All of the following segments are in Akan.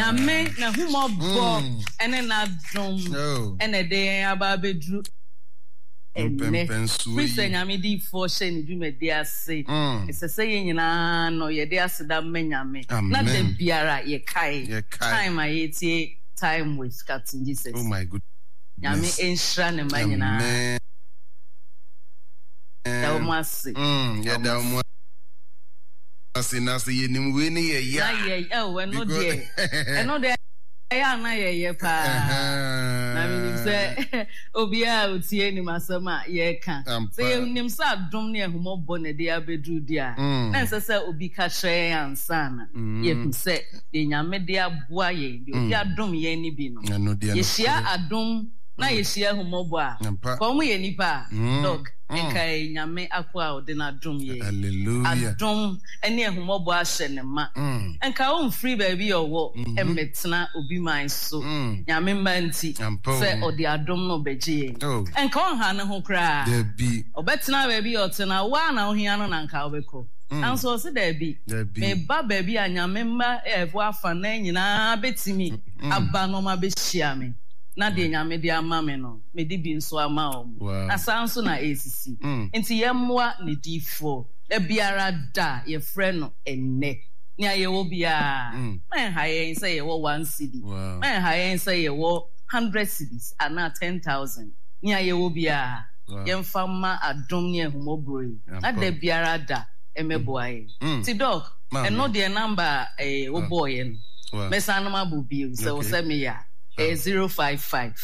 Nyame n'ahummɔbɔ ne n'adom na ɛde yɛn aba abɛduru ɛnnɛ. Firi sɛ Nyame diyifoɔ hyɛɛ ne dwumadie ase, ɛsɛ sɛ yɛn nyinaa no yɛde aseda ma Nyame na da biara yɛkae time a yɛretie Time with Captain Jesus. Nyame nhyira ne mma nyinaa. Yɛda wɔn ase. Yɛda wɔn ase na sɛ yɛnim wei ne yɛyɛ a. Na yɛ ɛwɔ ɛno deɛ ɛno deɛ ɛyɛ a na yɛyɛ paa na menim sɛ obiara a otie nim asɛm a yɛreka sɛ yɛnim sɛ adom ne ahummɔbɔ na ɛde abɛduru di a na ɛnsɛ sɛ obi ka kyerɛ yɛn ansa na yɛhu sɛ deɛ Nyame de aboa yɛn deɛ ɔde adom yɛn no bi no yɛhyia adom na yɛhyia ahummɔbɔ a ka wɔn yɛ nnipa a Doc nka ɛyɛ Nyame akoa a ɔde no adom yɛn. Adom ne ahummɔbɔ ahyɛ no ma. Nka ɔmfiri baabi a ɔwɔ mmɛtena obi man so, Nyame mma nti, sɛ ɔde adom no rebɛgye yɛn. Nka ɔnha ne ho koraa. Ɔbɛtena baabi a ɔte no, wo ara na wohia no na nka wobɛkɔ. Nanso ɔse daabi, meba baabi a Nyame mma a ɛwɔ afanan nyinaa bɛtumi aba na wɔabɛhyia me, na deɛ Nyame de ama me no, mede bi nso ama wɔn. Na saa nso na ɛresisi. Nti yɛmmoa ne difoɔ da biara da a yɛfrɛ no ɛnnɛ. Nea yɛwɔ biara, ma ɛnha yɛn sɛ yɛwɔ one cedi, ma ɛnha yɛn sɛ yɛwɔ hundred cedis anaa 10,000. Nea yɛwɔ biara, yɛmfa mma adom ne ahummɔborɔ yi, na da biara da ɛmmɛboa yɛn. Nti Doc, ɛno deɛ number a wobɔeɛ no, mɛsan no mabɔ bio sɛ wo sɛ meyɛ a. Ɛyɛ 055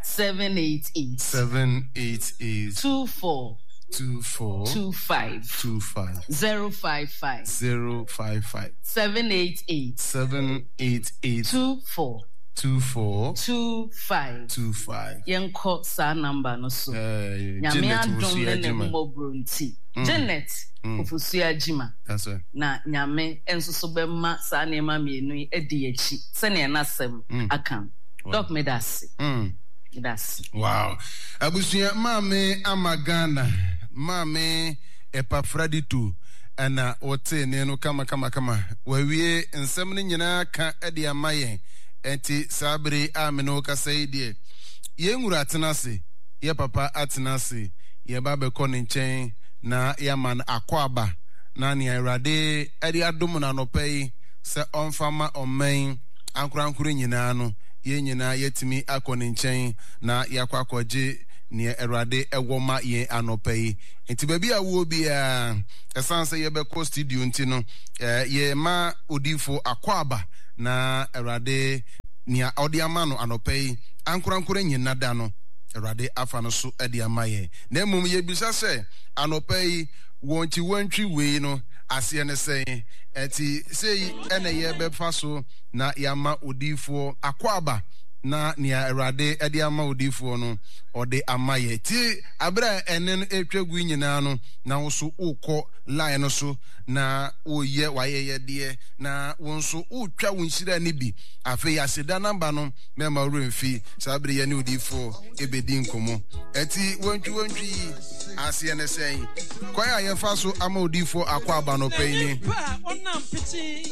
788 788 24 24 25 25 055 055 788 788 24 24 25 25. Yɛnkɔ saa number no so. Eh, Nyame Janet adom Ofosu ne ne Agyima. mmɔborɔ nti. Janet Ofosu Agyima. That's right. Na Nyame nso so bɛma saa nneɛma mmienu yi adi yɛn akyi sɛnea n'asɛm aka no. Doc meda ase. Meda ase. Wow. Abusua maame ama Ghana maame Epafradito ɛna wotee ne no kama kama kama. Wawie nsɛm no nyinaa ka de ama yɛn. Ɛnti saa bere yi a me ne wo kasa yi deɛ yɛn wura atena ase, yɛ papa atena ase, yɛba bɛkɔ ne nkyɛn na yɛama no akwaaba na nea Awurade de adom no anɔpa yi sɛ ɔmfa ma ɔman yi ankorankoro nyinaa no, yɛn nyinaa yɛatumi akɔ ne nkyɛn na yɛakɔ akɔgye nea Awurade wɔ ma yɛn anɔpa yi. Nti baabi a wowɔ biara, ɛsiane sɛ yɛbɛkɔ studio nti no, yɛma odiyifo akwaaba na Awurade nea ɔde ama no anɔpa yi ankorankoro nyina da no, Awurade afa no so de ama yɛn. Na mmom yɛbisa sɛ anɔpa yi, Wɔntwiwɔntwi wei no aseɛ ne sɛn? Ɛnti sei na yɛbɛfa so na yɛama odiyifoɔ akwaaba na nea Awurade de ama odiyifoɔ no ɔde ama yɛ. Tie aberɛ a ɛnne no ɛretwa gu yi nyinaa no na wo nso wokɔ line no so na woreyɛ w'ayɛyɛdeɛ na wo nso wotwa wo nhyira no bi. Afei aseda namba no mɛma wo werɛ mfi saa bere yɛne odiyifoɔ ɛbɛdi nkɔmmɔ. Ɛnti wɔntwiwɔntwi yi aseɛ ne sɛn? Kwan a yɛfa so ama odiyifoɔ akwaaba no pɛn ni. Nipa a ɔnam pete.